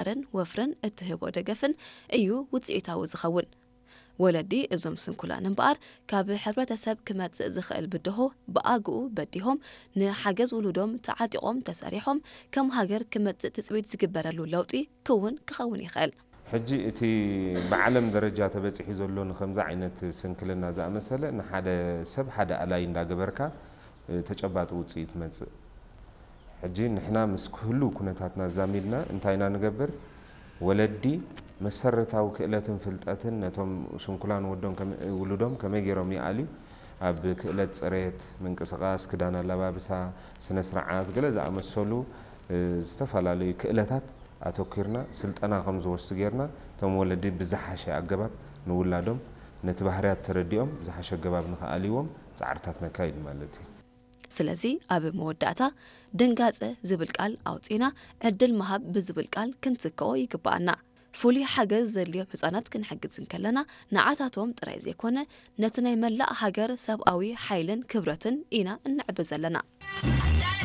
ምምሕዳርን ወፍርን እትህቦ ደገፍን እዩ ውፅኢታዊ ዝኸውን። ወለዲ እዞም ስንኩላን እምበኣር፣ ካብ ሕብረተሰብ ክመጽእ ዝኽእል ብድሆ ብኣግኡ በዲሆም፣ ንሓገዝ ውሉዶም ተዓጢቖም ተሰሪሖም፣ ከም ሃገር ክመጽእ ትጽቢት ዝግበረሉ ለውጢ ክውን ክኸውን ይኽእል። ሕጂ እቲ ብዓለም ደረጃ ተበጺሑ ዘሎ ንኸምዚ ዓይነት ስንክልና ዝኣመሰለ፣ ንሓደ ሰብ ሓደ ኣላይ እንዳገበርካ፣ እ፣ ተጨባጢ ውጽኢት መጽእ። ሕጂ ንሕና ምስ ክህሉ ኩነታትና ዛሚድና እንታይ ኢና ንገብር? ወለዲ መሰረታዊ ክእለትን ፍልጠትን ነቶም ስንኩላን ወዶም ከመ-፣ ውሉዶም ከመይ ገይሮም ይኣልዩ? ኣብ ክእለት ጽሬት፣ ምንቅስቓስ፣ ክዳን ኣላባብሳ፣ ስነ ስርዓት፣ ገለ ዝኣመሰሉ፣ እ፣ ዝተፈላለዩ ክእለታት ኣተኲርና ስልጠና ከም ዝወስዱ ጌርና፣ እቶም ወለዲ ብዝሓሸ ኣገባብ ንውላዶም ነቲ ባህርያት ተረዲኦም ዝሓሸ ኣገባብ ንኽኣልይዎም ጻዕርታት ነካይድ ማለት እዩ። ስለዚ ኣብ መወዳእታ ድንጋጸ ዝብል ቃል ኣውጺና ዕድል ምሃብ ብዝብል ቃል ክንትክኦ ይግብኣና። ፍሉይ ሓገዝ ዘድልዮም ህጻናት ክንሕግዝ እንከለና ንዓታቶም ጥራይ ዘይኮነ ነቲ ናይ መላእ ሃገር ሰብኣዊ ሓይልን ክብረትን ኢና እነዕቢ ዘለና።